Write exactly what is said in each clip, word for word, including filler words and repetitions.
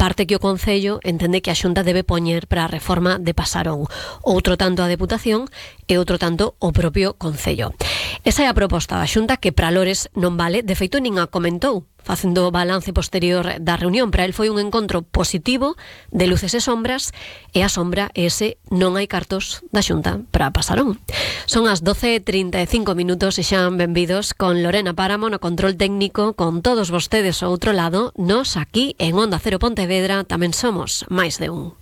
parte que o Concello entende que a Xunta debe poñer para a reforma de Pasarón. Outro tanto a Deputación e outro tanto o propio Concello. Esa é a proposta da Xunta, que para Lores non vale, de feito nin a comentou, facendo balance posterior da reunión. Para el foi un encontro positivo de luces e sombras, e a sombra é ese: non hai cartos da Xunta para Pasarón. Son as doce e trinta e cinco minutos e xa benvidos con Lorena Páramo no control técnico, con todos vostedes ao outro lado. Nos aquí en Onda Cero Pontevedra tamén somos máis de un.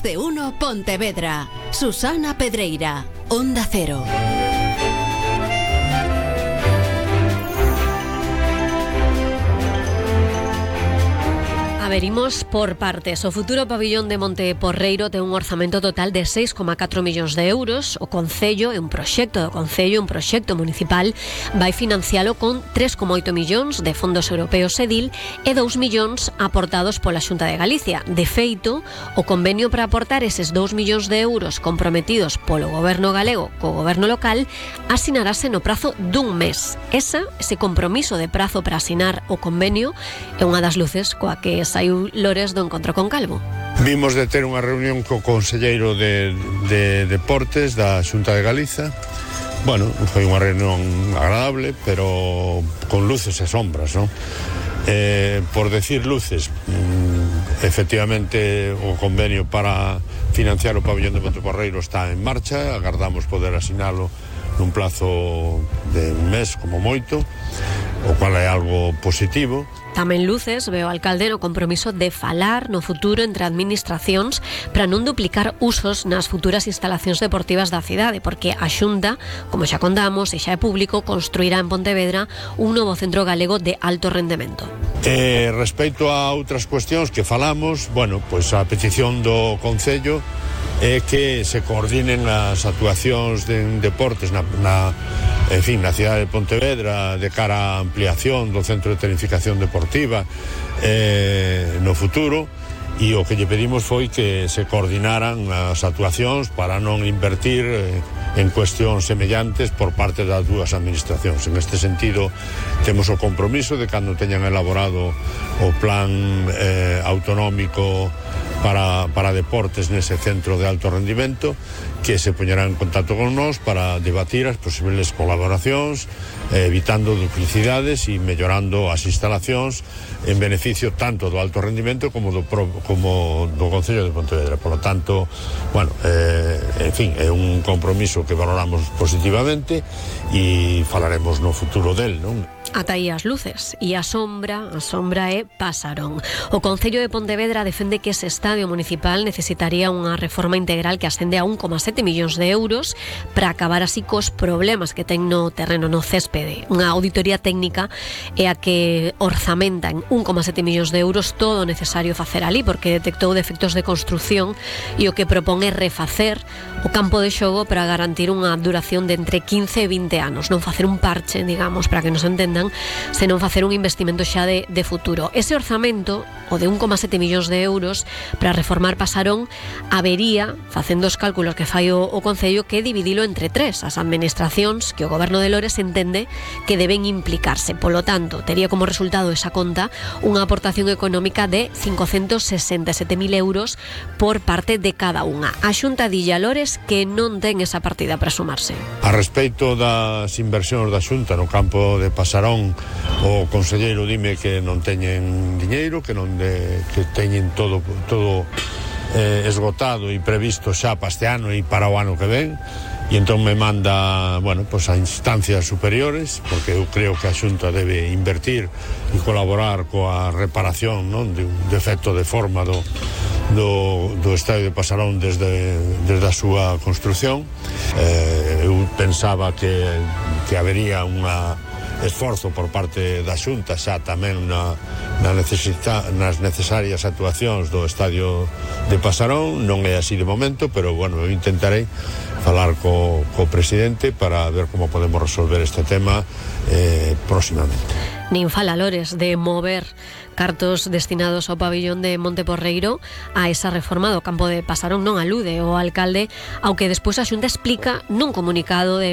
De uno Pontevedra. Susana Pedreira, Onda Cero. Averimos por partes. O futuro pabillón de Monte Porreiro ten un orzamento total de seis coma catro millóns de euros. O Concello, é un proxecto do Concello, un proxecto municipal, vai financialo con tres coma oito millóns de fondos europeos EDIL e dous millóns aportados pola Xunta de Galicia. De feito, o convenio para aportar eses dous millóns de euros comprometidos polo goberno galego co goberno local asinarase no prazo dun mes. Esa, ese compromiso de prazo para asinar o convenio é unha das luces coa que saiu Lores do encontro con Calvo. Vimos de ter unha reunión co conselleiro de, de Deportes da Xunta de Galiza. Bueno, foi unha reunión agradable, pero con luces e sombras, non? Eh, por decir luces, mmm, efectivamente o convenio para financiar o pabillón de Monte Porreiro está en marcha. Agardamos poder asinalo nun plazo de un mes como moito, o cual é algo positivo. Tamén luces veo o alcalde no compromiso de falar no futuro entre administracións para non duplicar usos nas futuras instalacións deportivas da cidade, porque a Xunta, como xa contamos e xa é público, construirá en Pontevedra un novo centro galego de alto rendemento. Eh, respecto a outras cuestións que falamos, bueno, pois a petición do Concello é que se coordinen as actuacións de deportes na, na, en fin, na cidade de Pontevedra de cara á ampliación do centro de tecnificación deportiva eh, no futuro, e o que lle pedimos foi que se coordinaran as actuacións para non invertir eh, en cuestións semellantes por parte das dúas administracións. En este sentido, temos o compromiso de cando teñan elaborado o plan eh, autonómico para, para deportes nese centro de alto rendimento, que se poñerá en contacto con nós para debatir as posibles colaboracións, eh, evitando duplicidades e mellorando as instalacións en beneficio tanto do alto rendimento como do, pro, como do Concello de Pontevedra. Por lo tanto, bueno, eh, en fin, é un compromiso que valoramos positivamente e falaremos no futuro del, non? Ata aí as luces e a sombra, a sombra é Pasarón. O Concello de Pontevedra defende que ese estadio municipal necesitaría unha reforma integral que ascende a un coma sete millóns de euros para acabar así cos problemas que ten no terreno, no céspede. Unha auditoría técnica é a que orzamenta en un coma sete millóns de euros todo o necesario facer ali, porque detectou defectos de construción e o que propón é refacer o campo de xogo para garantir unha duración de entre quince e vinte anos, non facer un parche, digamos, para que nos entendan, senón facer un investimento xa de, de futuro. Ese orzamento, o de un coma sete millóns de euros para reformar Pasarón, habería, facendo os cálculos que fai o, o Concello, que dividilo entre tres, as administracións que o goberno de Lores entende que deben implicarse. Polo tanto, tería como resultado esa conta unha aportación económica de cincocentos sesenta e sete mil euros por parte de cada unha. A Xunta dille a Lores que non ten esa partida para sumarse. A respecto das inversións da Xunta no campo de Pasarón, o conselleiro dime que non teñen diñeiro, que non de, que teñen todo todo eh, esgotado e previsto xa para este ano e para o ano que ven, e entón me manda, bueno, pues a instancias superiores, porque eu creo que a Xunta debe invertir e colaborar coa reparación, non, de un defecto de forma do do, do estadio de Pasarón desde, desde a súa construción. Eh, eu pensaba que, que habería unha esforzo por parte da Xunta xa tamén na, na necesita, nas necesarias actuacións do estadio de Pasarón. Non é así de momento, pero bueno, eu intentarei falar co, co presidente para ver como podemos resolver este tema eh, próximamente. Nin fala Lores de mover cartos destinados ao pabillón de Monte Porreiro a esa reforma do campo de Pasarón. Non alude o alcalde ao que despois a Xunta explica nun comunicado de